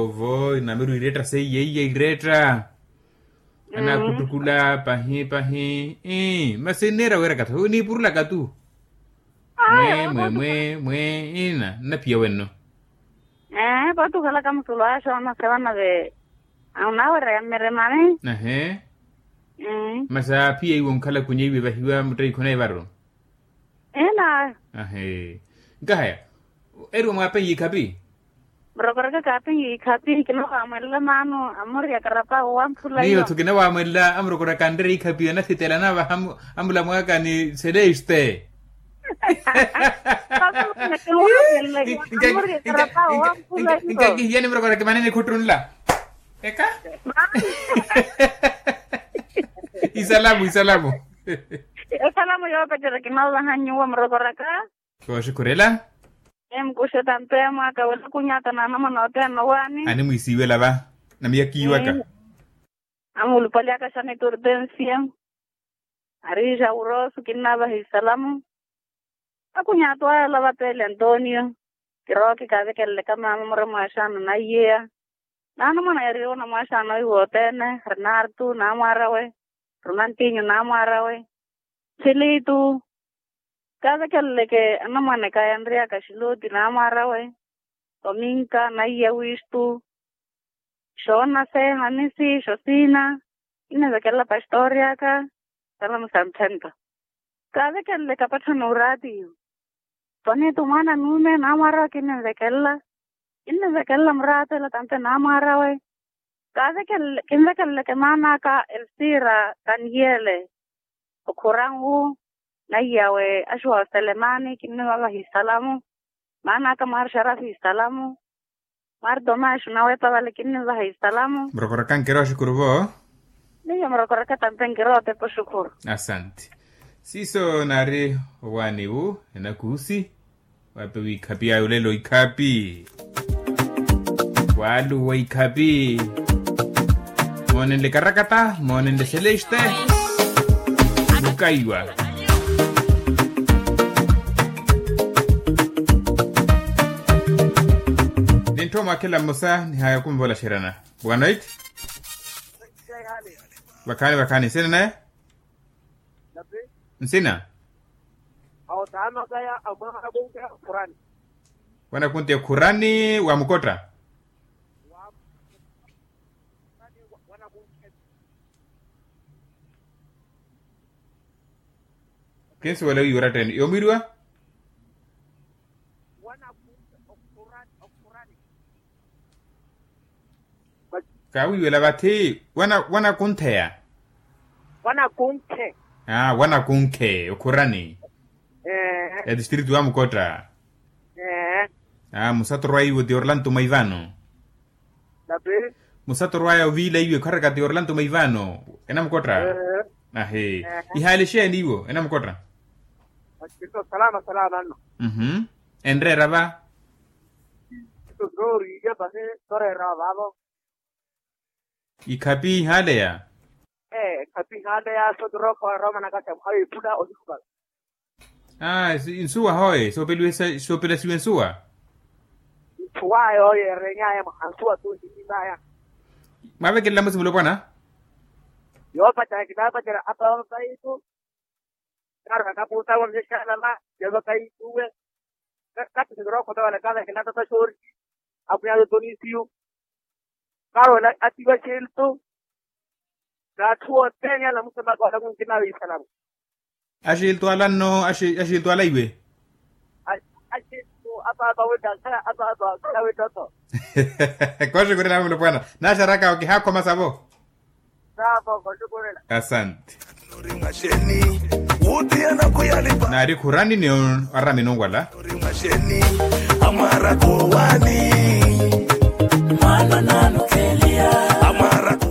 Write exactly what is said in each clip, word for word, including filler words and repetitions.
Ovo namiri wiiretta seiya iya iiretta. Anakhuttukula pahi pahi. Masi nniira weeraka tho niipurulaka tu. Mwe mwe mwe mwe. Ina nnaphiya wenno. Ee pootti okhalaka musulu axa onasewa nave. Anaawereya mmeremani. Ahe. Masi aaphiya iwe onkhala kunya iwe vahiwa mutteikho naye varu. Ina. Ahe. Nkahaya. Eriwa mwaapenye ikhapi. Murokoreke kaapenye ikhapi kinawaamwelela maano. Amuriya karapa wamphula iyo. Miyo tho kinawaamwelela amurokoreke anrere ikhapi anathitela anavaha. Amulamwaka ni celeste. Amuriya karapa wamphula iyo. Nkahiyani murokoreke mani nikhuttunla. Eka. Isalamu isalamu. Esalamu yoopetterya kinoolaha nyuwo murokoraka. Kooxikhurela. Emkuxe tanto emwaaka wela kunyata naanamwana othene nowaani. Animwiisiiwela va. Namiyakiiwaka. Amuulupali akaxani tortensia. Ariixa wurosu kinnavaha isalamu. Akunyaato aya lava pele antonio. Kirooki kaavekeleleka maama muremwaxaano naiyeya. Naanamwana yariiwa onamwaxaano iwe othene renartu naamwaarawe. Ronantinyu naamwaarawe. Silitu. Kaavekeleleke anamwaneka yanriyaka xiloti naamwaarawe. Tominka naiya wistu. Xoonaseha nisi xosiina. Kinnivekelela pastori aka. Salamu santhento. Kaavekeleleke apatthani oraatiyo. Tonitu mwaana nuume naamwaarawe kinnivekelela. Kinnivekelela muraatela tampe naamwaarawe. Kaavekelele kinvekeleleke maana aka elsiira taniyele. Okhuranwu. Naiyawe axuwa oselemani kinnivavaha isalamu. Maana aka mwaari xarafi isalamu. Mwaari tomaxu nawepa vale kinnivaha isalamu. Murokoraka nkira oxukuru vo. Miyo murokoraka tampe nkira otepa oxukuru. Asanti. Siiso naari owaani wu enakuusi. Waapewa ikhapi ayo lelo ikhapi. Waaluwa ikhapi. Moonenle karakata moonenle celeste. Mukaiwa. Nintthu omwakhela mmosa nihaya okumvola xerana. Boa noite. Vakhaani vakhaani nsina naye. Nsina. Wanakunti ekhurani wa mukotta. Kinsuwela wiiwa oratta ene yoomwiriwa. Kaawiiwela vathi. Wanakuntheya. Wanakunkhe. Aa wanakunkhe okhurani. Ya distritu wa mukotta. Aa musatorwaya iwe ti orlanto mwaivano. Musatorwaya oviila iwe kharaka ti orlanto mwaivano. Enamukotta. Ahe. Ihaale exeeni iwo enamukotta. Enreera va. Ikhapi ihaaleya. Ee ikhapi ihaaleya sotiroko eroomanaka. Aa insuwa hoye soopelasiwa insuwa. Nsuwaya oyo erenyaya mwaha nsuwa tu ntitimaya. Mwaavekelela musi mulopwana. Yoopacerya kinaapacerya apa vapaitu. Kaarwa kapuusa vo mixexalala. Yovaka ituwe. Katthu sikirookho tawala kaavekela tata xoori. Akhwiya yotonisiyu. Kaarwa atiwa xiltu. N'atthu othene alamusa maka wala kunkina wiisalamu. Axiltu ala nno axiltu ala iwe. Axiltu apaapa wetta khala apaapa khala wetta tho. Koxukurela mulopwana. Naxaraka okihakhoma savo. Asante. Naari khurani ni aramini onwala.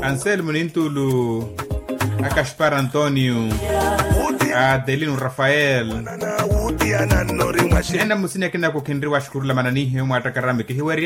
Anselmo nintulu, akaxpara antonio, adelino rafael. Ena musini akinako khinriwa axukurula mananihe omwaattakaramu kihiweri.